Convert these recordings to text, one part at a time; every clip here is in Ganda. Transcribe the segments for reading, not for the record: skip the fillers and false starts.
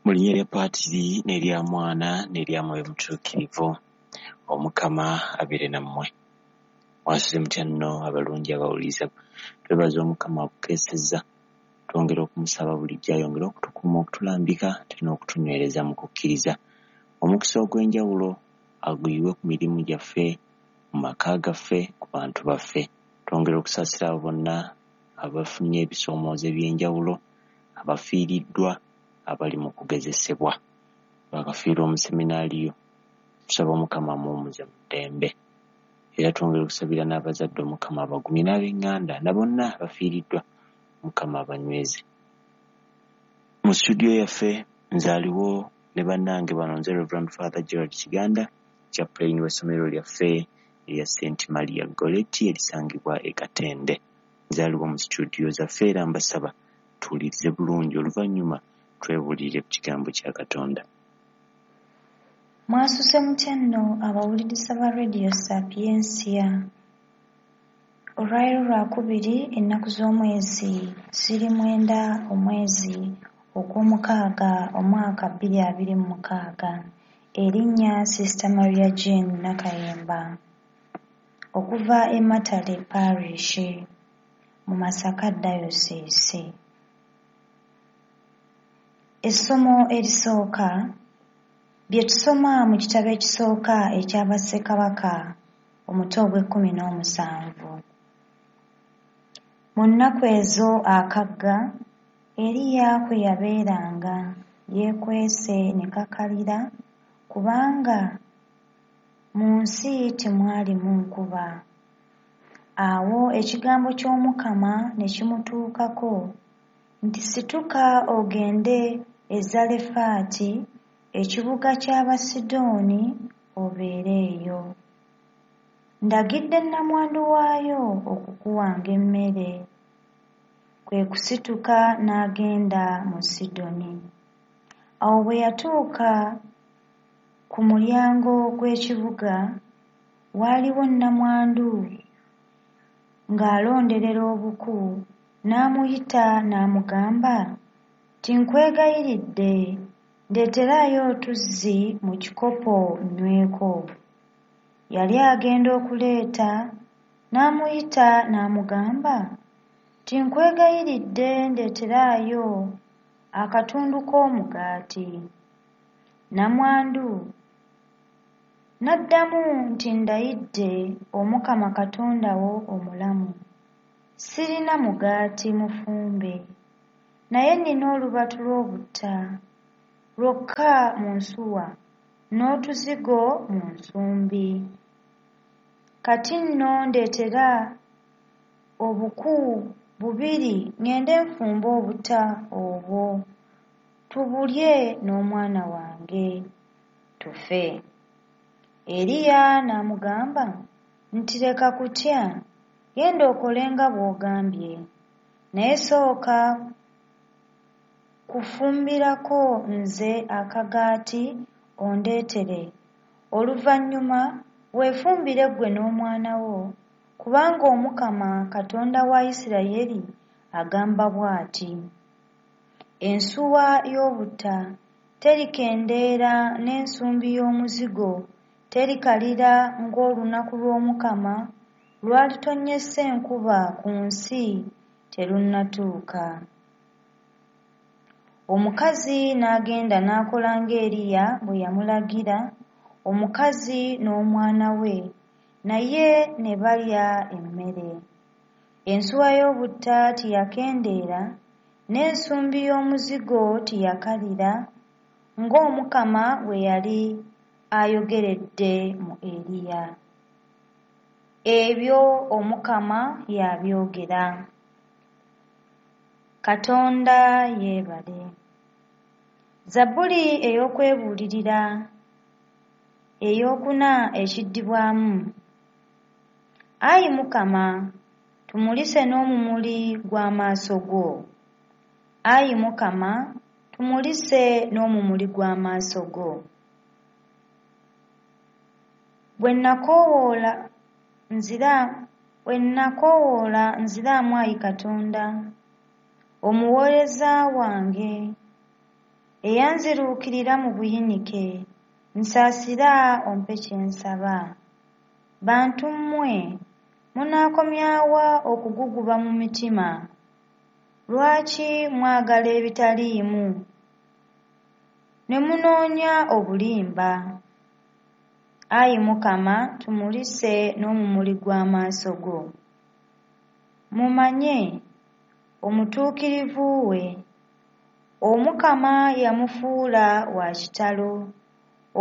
Mu linnya lya Paatiri n'erya Mwana n'erya Mwoyo Mutuukirivu, Omukama abeere nammwe. Mwasuze mutya nno abalungi abawuliriza. Twebaza Omukama akukeesezza, twongera okumusaba bulijjo ayongere okutukuuma, okutulambika ate n'okutunywereza mu kukkiriza. Omukisa ogw'enjawulo aguyiwe ku mirimu gyaffe, mu maka gaffe, ku bantu baffe. Twongera okusaasira abo bonna abafunye ebisoomoozo eby'enjawulo, abafiiriddwa, abali mu kugezesebwa. Bakafiirwa omuseminaaliyo, tusaba Omukama amuwummuze mu ddembe. Era twongera okusabira n'abazadde Omukama abagumye n'ab'eŋŋanda na bonna abafiiriddwa Omukama abanyweze. Mu studio yaffe nze aliwo ne bannange bano nze Reverend Father Gerald Kiganda, chaplain w'essomero lyaffe erya St Maria Goretti erisangibwa e Katende. Nze aliwo mu studio zaffe era mbasaba tuwulirize bulungi oluvannyuma twebuulirire ku kigambo kya Katonda. Mwasuze mutya nno abawuliriza ba Radio Sapientia. Olwaleero Lwakubiri ennaku z'omwezi ziri 9 omwezi ogw'omukaaga omwaka 2026. Erinnya Sister Maria Jean Nakayemba okuva e Matale Parish mu Masaka Diocese. Essomo erisooka bye tusoma mu kitabo ekisooka ekya Bassekabaka omutwe ogw'ekkumi n'omusanvu. Mu nnaku ezo akagga Eriya kwe yabeeranga yeekwese ne kakalira kubanga mu nsi temwalimu nkuba. Awo ekigambo ky'Omukama ne kimutuukako nti situka ogende e Zalefaati ekibuga ky'Abasidooni obeere eyo. Ndagidde nnamwandu waayo okukuwanga emmere. Kwe kusituka n'agenda mu Sidoni. Awo bwe yatuuka ku mulyango gw'ekibuga, waaliwo nnamwandu ng'alonderera obuku, n'amuyita n'amugamba nti nkwegayiridde ndeeteraayo otuzzi mu kikopo nnyweko. Yali agenda okuleeta, n'amuyita n'amugamba nti nkwegayiridde ndeeteraayo akatundu k'omugaati. Nnamwandu n'addamu nti ndayidde Omukama Katonda wo omulamu, sirina mugaati mufumbe, naye nnina olubatu lw'obutta lwokka mu nsuwa n'otuzigo mu nsumbi. Kati nno ndeetera obuku bubiri ŋŋende nfumbe obutta obwo tubulye n'omwana wange tufe. Eriya n'amugamba nti leka kutya, genda okole nga bw'ogambye, naye sooka kufumbirako nze akagaati ondeetere, oluvannyuma weefumbire ggwe n'omwana wo, kubanga Omukama Katonda wa Yisirayeli agamba bw'ati: Ensuwa y'obutta terikendeera n'ensumbi y'omuzigo terikalira ng'olunaku lw'Omukama lw'alitonnyesa enkuba ku nsi terunnatuuka. Omukazi n'agenda n'akola ng'Eriya bwe yamulagira, omukazi n'omwana we naye ne balya emmere. Ensuwa y'obutta teyakendeera n'ensumbi y'omuzigo teyakalira ng'Omukama bwe yali ayogeredde mu Eriya. Ebyo Omukama y'abyogera. Katonda yeebale. Zabbuli ey'okwebuulirira eyookuna ekiddibwamu. Ayi Mukama, tumulise n'omumuli gw'amaaso go. Ayi Mukama, tumulise n'omumuli gw'amaaso go. Bwe nakoowoola nziraamu ayi Katonda, omuweereza wange. Eyanziruukirira mu buyinike, nsaasira ompe kye nsaba. Bantu mmwe, munaakomya wa okuguguba mu mitima? Lwaki mwagala ebitaliimu, ne munoonya obulimba? Ayi Mukama, tumulise n'omumuli gw'amaaso go. Mumanye omutuukirivu we, Omukama yamufuula wa kitalo.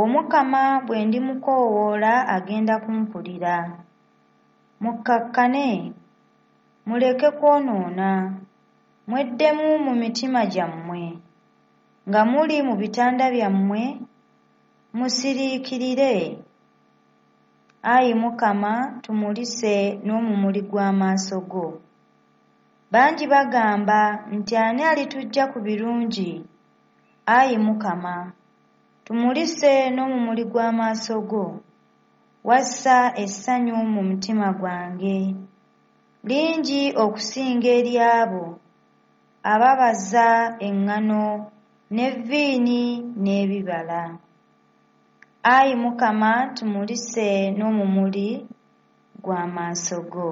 Omukama bwe ndimukoowoola agenda kumpulira. Mukkakkane, muleke kwonoona, mweddemu mu mitima gyammwe. Nga muli mu bitanda byammwe, musiriikirire. Ayi Mukama, tumulise n'omumuli gw'amaaso go. Bangi bagamba nti ani alituggya ku birungi? Ayi Mukama, tumulise n'omumuli gw'amaaso go. Wassa essanyu mu mutima gwange, lingi okusinga ery'abo ababaza eŋŋano n'evviini n'ebibala. Ayi Mukama, tumulise n'omumuli gw'amaaso go.